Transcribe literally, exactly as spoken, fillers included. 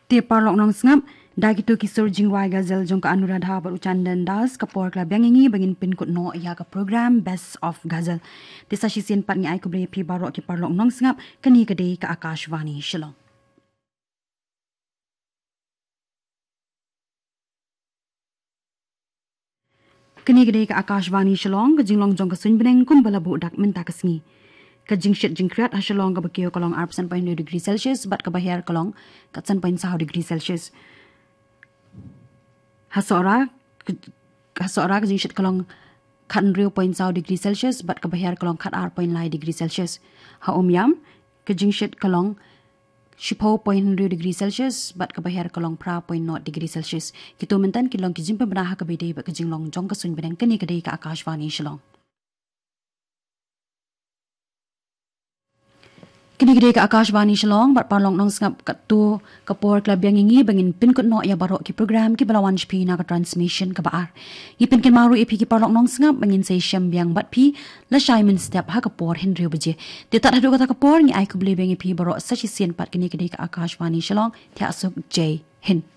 Te paralok nongsngap, da kito ki sur jingrwai ghazal jong ka Anuradha bad u Chandan Das, ka por ka la biang ïa ngi ba ngin pynkut noh ïa ka program Best of Ghazal. Te sa shisien pat ngi ai khublei ïa phi baroh ki paralok nongsngap, kane ka dei ka Akashvani Shillong. Kane ka dei ka Akashvani Shillong, ka jinglong jong ka suiñ bneng kumba la buh dak mynta ka sngi. Ka jingshit jingkhriat ha Shillong kaba kiew ka long arphew san point hynriew degree Celsius bad kaba hiar ka long khat san point saw degree Celsius. Ha Sohra, ka, ha Sohra ka jingshit ka long khat hynriew point saw degree Celsius bad kaba hiar ka long khat ar point lai degree Celsius. Ha Umiam ka jingshit ka long shiphew point hynriew degree Celsius bad kaba hiar ka long phra point nought degree Celsius. Kito mynta ki long ki jingpynbna ha kaba ïadei bad ka jinglong jong ka suiñ bneng. Kane ka dei ka Akashvani Shillong. Kane ka dei ka Akashvani Shillong bad paralok nongsngap, katto ka por ka la biang ïa ngi ba ngin pynkut noh ïa baroh ki program kiba la wan sha phi na ka transmission kaba ar. Ngi pynkynmaw ruh ïa phi ki paralok nongsngap ba ngin sa ïashem biang bad phi lashai mynstep ha ka por hynriew baje. Te tad haduh kata ka por ngi ai khublei biang ïa phi baroh sa shisien pat. Kane ka dei ka Akashvani Shillong. Thiah suk, Jai Hind.